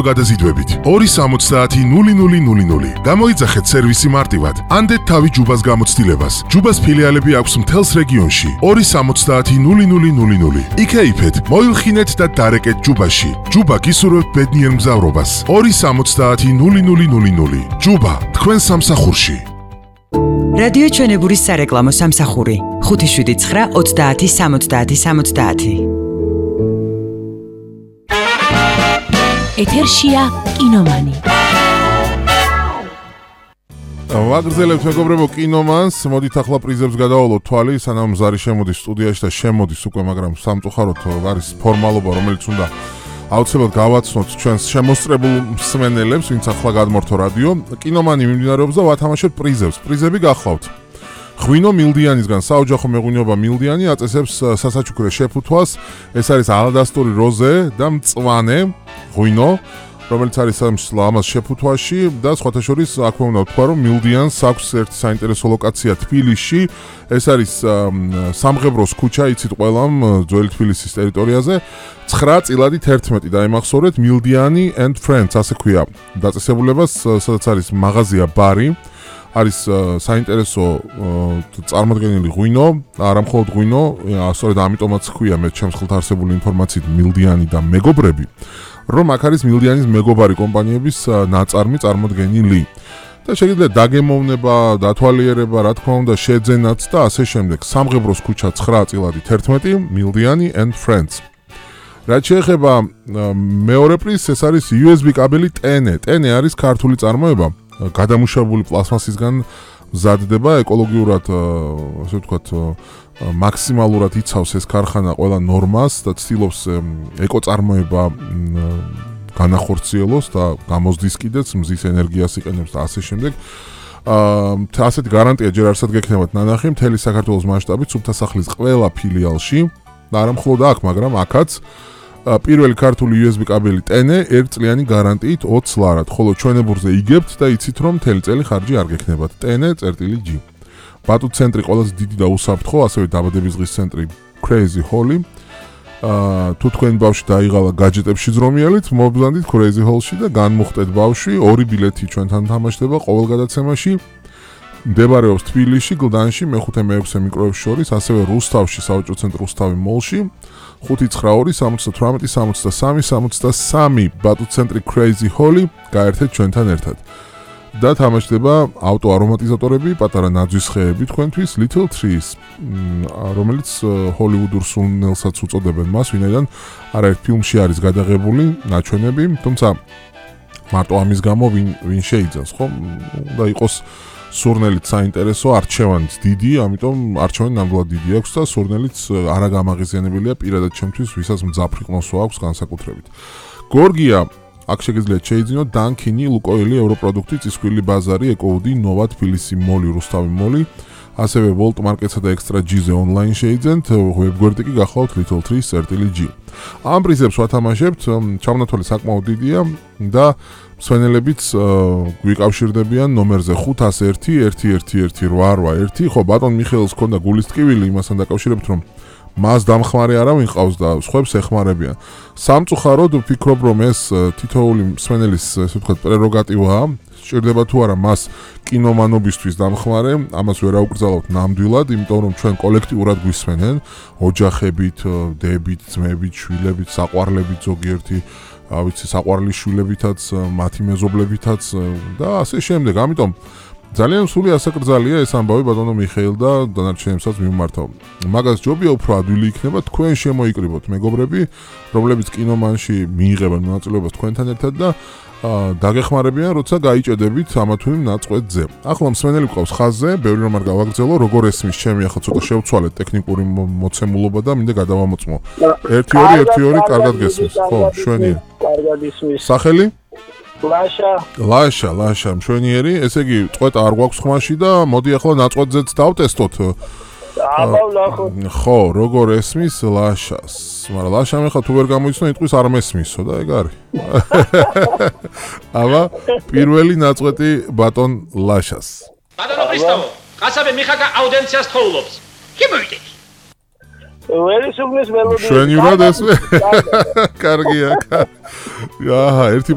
გადაზიდვებით 270-0000. გამოიძახეთ სერვისი მარტივად. ანდეთ თავი ჯუბას გამოცდილებას. ჯუბას ფილიალები აქვს მთელს რეგიონში. 270-0000. იქეიფეთ, მოილხინეთ და დარეკეთ ჯუბაში. ჯუბა გისურვებთ ბედნიერ მგზავრობას. 270-0000. ჯუბა, თქვენ სამსახურში. რადიო ჩვენებურის სარეკლამო სამსახური 579-30-70-70. ეთერშია კინომანი. ვაგრძელებთ მეგობრებო კინომანს, მოდით ახლა პრიზებს გადავალოთ თვალი, სანამ ზარი შემოდის სტუდიაში და შემოდის უკვე, მაგრამ სამწუხაროდ არის ფორმალობა, რომელიც უნდა აუცილებლად გავაცნოთ ჩვენს შემოსწრებულ მსმენელებს, ვინც ახლა გადმორთო რადიო. კინომანი მიმდინარეობს და ვათამაშებთ პრიზებს. პრიზები გახლავთ. ღვინო მილდიანისგან საოჯახო მეღვინეობა მილდიანი აწესებს სასაჩუქრე შეფუთვას. ეს არის ალადასტური როზე და მწვანე ღვინო, რომელიც არის ამას შეფუთვაში და სხვათა შორის აქვე უნდა ვთქვა, რომ მილდიანს აქვს ერთი საინტერესო ლოკაცია თბილისში. ეს არის სამღებროს ქუჩა, იცით ყველამ, ძველი თბილისის ტერიტორიაზე. 9 წილადი 11 დაიმახსოვრეთ, მილდიანი and friends, ასე ქვია დაწესებულებას, სადაც არის მაღაზია ბარი. არის საინტერესო წარმოდგენილი ღვინო, არა მხოლოდ ღვინო, სწორედ ამიტომაც ქვია მე ჩემს ხელთ არსებული ინფორმაციით მილდიანი და მეგობრები, რომ აქ არის მილდიანის მეგობარი კომპანიების ნაწარმი წარმოდგენილი. და შეგიძლიათ დაგემოვნება, დათვალიერება, რა თქმა უნდა, შეძენაც და ასე შემდეგ. სამღებროს ქუჩა 9 წილადი 11, მილდიანი and friends. რაც შეეხება მეორე პრიზს, ეს არის USB კაბელი TN. TN არის ქართული წარმოება. გადამუშავებული პლასმასისგან მზადდება, ეკოლოგიურად, ასე ვთქვათ, მაქსიმალურად იცავს ეს ქარხანა ყველა ნორმას და ცდილობს ეკოწარმოება განახორციელოს და გამოზდის კიდეც, მზის ენერგიას იყენებს და ასე შემდეგ. ასეთი გარანტია ჯერ არსად გექნებათ ნანახი მთელი საქართველოს მასშტაბით სუფთასახლის ყველა ფილიალში და არა მხოლოდ აქ, მაგრამ აქაც პირველი ქართული USB კაბელი TN 1 წლიანი გარანტიით 20 ლარად, ხოლო ჩვენებურზე იგებთ და იცით რომ მთელი წელი ხარჯი არ გექნებათ. TN.G. ბატუტ ცენტრი ყველაზე დიდი და უსაფრთხო, ასევე დაბადების დღის ცენტრი Crazy Holly. თუ თქვენი ბავშვი დაიღალა გაჯეტებში ზრომიალით, მობრძანდით Crazy Hall-ში და განმუხტეთ ბავშვი, 2 ბილეთი ჩვენთან თამაშდება ყოველ გადაცემაში. მდებარეობს თბილისში, გლდანში, მე-5-მე-6 მიკროების შორის, ასევე რუსთავში, საოჯრო ცენტრ რუსთავი მოლში. 592-78-73-63 ბატუტ ცენტრი Crazy Holly, გაერთეთ ჩვენთან ერთად. და თამაშდება ავტო არომატიზატორები, პატარა ნაძვის ხეები თქვენთვის, Little Trees, რომელიც ჰოლივუდურ სულნელსაც უწოდებენ მას, ვინაიდან არაერთ ფილმში არის გადაღებული ნაჩვენები, თუმცა მარტო ამის გამო ვინ შეიძენს, ხო? და იყოს სურნელით საინტერესო, არჩევანიც დიდი, ამიტომ არჩევანი ნამდვილად დიდი აქვს და სურნელიც არა გამაღიზიანებელია პირადად ჩემთვის, ვისაც მძაფრი ყნოსვა აქვს განსაკუთრებით. გორგია, აქ შეგიძლიათ შეიძინოთ დანქინი, ლუკოილი, ევროპროდუქტი, წისქვილი ბაზარი, ეკოუდი, ნოვა, თბილისი მოლი, რუსთავი მოლი, ასევე ვოლტ მარკეტსა და ექსტრა G-ზე ონლაინ შეიძენთ, ვებგვერდი კი გახლავთ Little Trees.G. ამ პრიზებს ვათამაშებთ, ჩამონათვალი საკმაოდ დიდია და მსვენელებიც გვიკავშირდებიან ნომერზე 501-111881. ხო, ბატონ მიხეილს ჰქონდა გულის ტკივილი იმასთან დაკავშირებით, რომ მას დამხმარე არავინ ყავს და სხვებს ეხმარებიან. სამწუხაროდ ვფიქრობ, რომ ეს თითოეული მსვენელის, ესე ვთქვათ, პრეროგატივაა. სჭირდება თუ არა მას კინომანობისთვის დამხმარე, ამას ვერ აუკრძალავთ ნამდვილად, იმიტომ რომ ჩვენ კოლექტიურად გვისმენენ, ოჯახებით, დებით, ძმებით, შვილებით, საყვარლებით ზოგიერთი, ვიცი, საყვარლის შვილებითაც, მათი მეზობლებითაც და ასე შემდეგ. ამიტომ ძალიან სული ასაკრძალია ეს ამბავი ბატონო მიხეილ და დანარჩენებსაც მიმართავ. მაგას ჯობია უფრო ადვილი იქნება თქვენ შემოიკრიბოთ მეგობრები, რომლებიც კინომანში მიიღებენ მონაწილეობას თქვენთან ერთად და დაგეხმარებიან, როცა გაიჭედებით ამა თუ იმ ნაწყვეტზე. ახლა მსმენელი გვყავს ხაზზე, ბევრი რომ არ გავაგრძელო, როგორ ესმის ჩემი ახლა ცოტა შევცვალეთ ტექნიკური მოცემულობა და მინდა გადავამოწმო. 1-2-1-2 კარგად გესმის. ხო, შვენიერი. კარგად ისმის. სახელი? ლაშა, მშვენიერი, ესე იგი, წყვეტა არ გვაქვს ხმაში და მოდი ახლა ნაწყვეტზეც დავტესტოთ. ხო, როგორ ესმის ლაშას. მაგრამ ლაშამ ახლა თუ ვერ გამოიცნო, იტყვის არ მესმისო და ეგ არის. აბა, პირველი ნაწყვეტი ბატონ ლაშას. ბატონო ქრისტოვო, ყასაბე მიხაკა აუდიენციას თხოვლობს. კი მოიდეთ. ვერისუბნის მელოდია. შვენივრად ესმე? კარგია. აჰა, ერთი